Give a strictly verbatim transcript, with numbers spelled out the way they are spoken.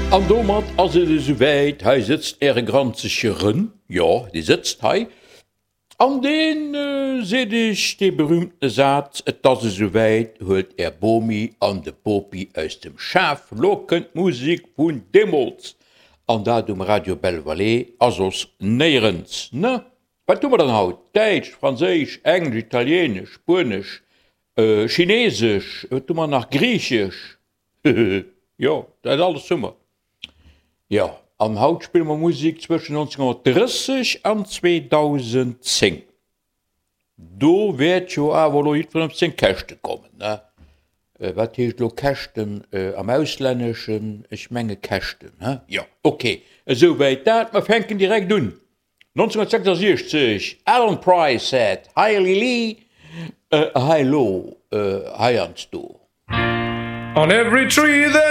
An domat ass et esouwäit, hei sëtzt äre granzege Rën, jo, dee sëtzt hei, an dee seet iech dee berühmtene Saz, Et ass esouwäit, huelt är Bomi an de Bopi aus dem Schaf, lo kënnt d'Musek vun deemools, an dat um Radio Belle Vallée a soss néierens, ne? Wat hu mer dann haut? Däitsch, Franséisch, Englesch, Italienesch, Spuenesch, Chinesesch, wat hu mer nach? Griichesch, jo, dat alles hu mer. Jo, an haut spille mer Musek zwëschen nonzénghonnertdrësseg an zweedausendzéng. Do wäert jo awer elo jiddwereen op seng Käschte kommen, ne? Wat heescht elo Käschten am Auslänneschen? Ech menge Käschten, he? Jo, ok, esouwäit dat. Mer fänken direkt un. nonzénghonnertsechsasiechzeg, Alan Price said, Hi Lili, Hi Lo, heiansdo. On every tree there.